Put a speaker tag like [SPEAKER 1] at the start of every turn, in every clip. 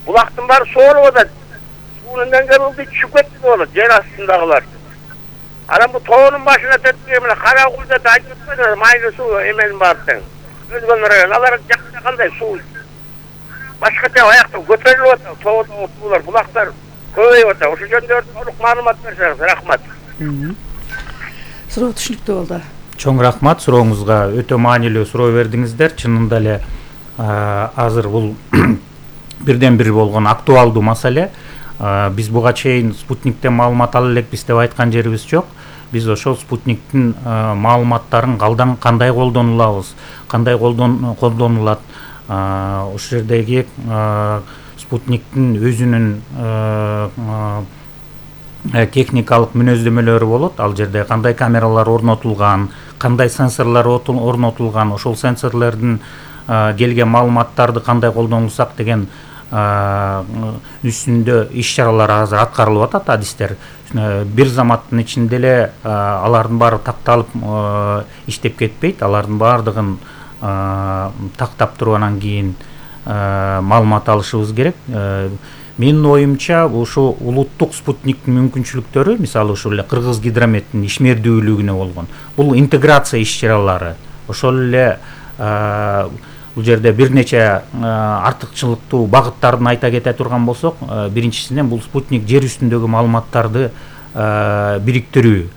[SPEAKER 1] Булактын баары соолуп атат. Суунун деңгээли түшүп кетти деп болот, жер астындагылар. Анан бу тоонун башына төттүгө мына Каракулда да айтып атпайбы, майлуу суу эменин баары тең. Өзгөн район, алар жакта кандай суу? Башкача аякта көтөрүлүп атат, тоодогу суулар, булактар көбөйүп атат. Ошол жөнүндө толук маалымат берсеңиз, рахмат.
[SPEAKER 2] Суроо түшүнүктүү болду.
[SPEAKER 3] Чоң рахмат, сурооңузга өтө маанилүү суроо бердиңиздер. Чынында эле азыр бул бирден бир болгон актуалдуу маселе. Биз буга чейин спутниктен маалымат ала элекпиз деп айткан жерибиз жок. Биз ошол спутниктин маалыматтарын кандай колдонулабыз, кандай колдонулат, ошол жердеги спутниктин өзүнүн техникалык мүнөздөмөлөрү болот. Ал жерде кандай камералар орнотулган, кандай сенсорлор орнотулган, ошол сенсорлордун келген маалыматтарды кандай колдонулсак деген үстүндө иш-чаралар азыр аткарылып атат, адистер. Бир заматтын ичинде эле алардын баары такталып иштеп кетпейт. Алардын баардыгын тактап туруп анан кийин маалымат алышыбыз керек. Менин оюмча ушу улуттук спутниктин мүмкүнчүлүктөрү, мисалы ушул эле Кыргыз гидрометтин ишмердүүлүгүнө болгон бул интеграция иш-чаралары, ошол эле бул жерде бир нече артыкчылыктуу багыттарын айта кете турган болсок, биринчисинен бул спутник жер үстүндөгү маалыматтарды бириктирүү.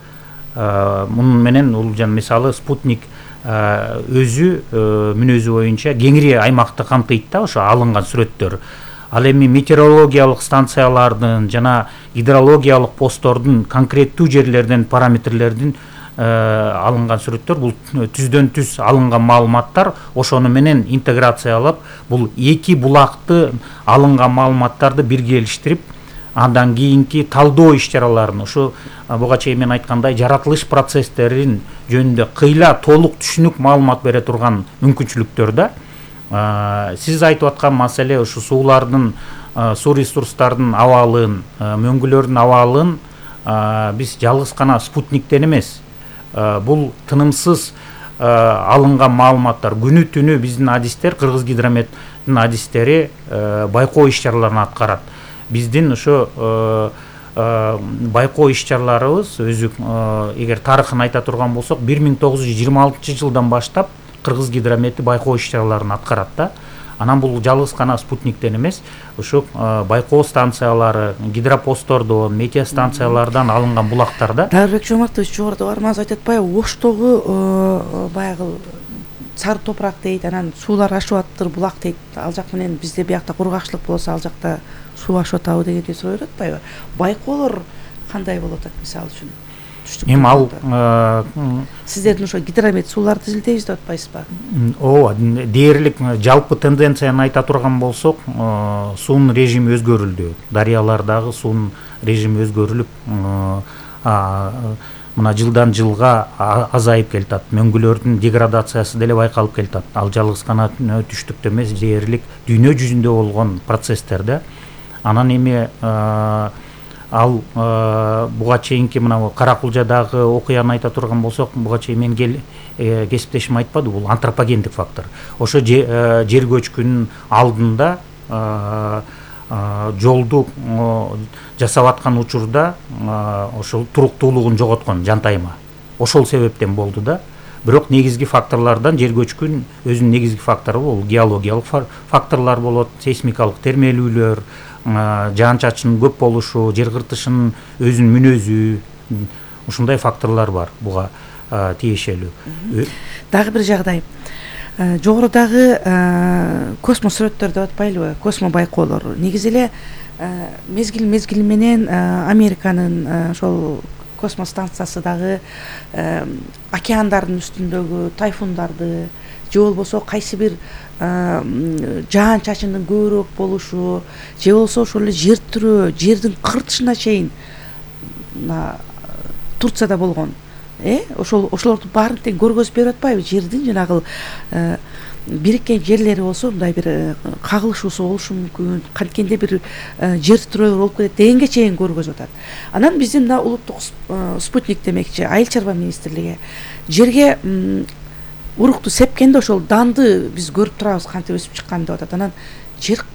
[SPEAKER 3] Мунун менен бул мисалы спутник өзү мүнөзү боюнча кеңири аймакты камтыйт да, ошо алынган сүрөттөр. Ал эми метеорологиялык станциялардын жана гидрологиялык посттордун конкреттүү жерлерден параметрлердин алынган сүрөттөр, бул түздөн түз алынган маалыматтар, ошону менен интеграциялап, бул эки булакты алынган маалыматтарды биргелештирип, андан кийинки талдоо иш-чараларын, ушу буга чейин мен айткандай жаратылыш процесстерин жөнүндө кыйла толук түшүнүк маалымат бере турган мүмкүнчүлүктөр да. Сиз айтып аткан маселе ушу суулардын, суу ресурстардын абалын, мөңгүлөрдүн абалын биз жалгыз гана спутниктен эмес, бул тынымсыз алынган маалыматтар. Күнү түнү биздин адистер, Кыргыз гидрометтин адистери байкоо иш-чараларын аткарат. Биздин ошо байкоо иш-чараларыбыз өзү, эгер тарыхын айта турган болсок, 1926-жылдан баштап Кыргыз гидромети байкоо иш-чараларын аткарат да. Анан бул жалгыз гана спутниктен эмес, ушу байкоо станциялары, гидропосттордон, метеостанциялардан алынган булактарда.
[SPEAKER 2] Дарбек Жомартович жогоруда бармаңыз айтып атпайбы, Оштогу баягы сары топурак дейт, анан суулар ашып атыптыр, булак дейт. Ал жак менен бизде биякта кургакчылык болсо, ал жакта суу ашып атабы дегенди суроо берип атпайбы? Байкоолор кандай болуп атат мисалы үчүн?
[SPEAKER 3] Эми ал
[SPEAKER 2] сиздердин ошо гидромет сууларды изилдейбиз деп атпайсызбы?
[SPEAKER 3] Ооба, дээрлик жалпы тенденцияны айта турган болсок, суунун режими өзгөрүлдү. Дарыялардагы суунун режими өзгөрүлүп, мына жылдан жылга азайып келатат. Мөңгүлөрдүн деградациясы деле байкалып келатат. Ал жалгыз гана түштүктө эмес, дээрлик дүйнө жүзүндө болгон процесстер да. Анан эми ал буга чейинки мына Каракулжадагы окуяны айта турган болсок, буга чейин мен кесиптешим айтпады, бул антропогендик фактор. Ошо жер көчкүнүн алдында жолду жасап аткан учурда ошол туруктуулугун жоготкон жантайма. Ошол себептен болду да. Бирок негизги факторлордон жер көчкүн өзүнүн негизги фактору бул геологиялык факторлор болот, сейсмикалык термелүүлөр, жаан-чачындын көп болушу, жер кыртышынын өзүнүн мүнөзү, ушундай факторлор бар буга тиешелүү.
[SPEAKER 2] Дагы бир жагдай. Жогорудагы космос сүрөттөр деп атпайлыбы? Космо байкоолор. Негизи эле мезгил менен Американын ошол космос станциясы дагы океандардын үстүндөгү тайфундарды же болбосо кайсы бир жаан-чачындын көбүрөөк болушу, же болбосо ошол эле жер тирөө, жердин кыртышына чейин Турцияда болгон. Ошолорду баарын тең көргөзүп берип атпайбы? Жердин жанагы бириккен жерлери болсо мындай бир кагылышуусу болушу мүмкүн, канткенде бир жер тирөөлөр болуп кетет дегенге чейин көргөзүп атат. Анан биздин мына улуттук спутник демекчи, Айыл чарба министрлиги жерге урукту сепкенде ошол данды биз көрүп турабыз кантип өсүп чыкканын деп атат. Анан жер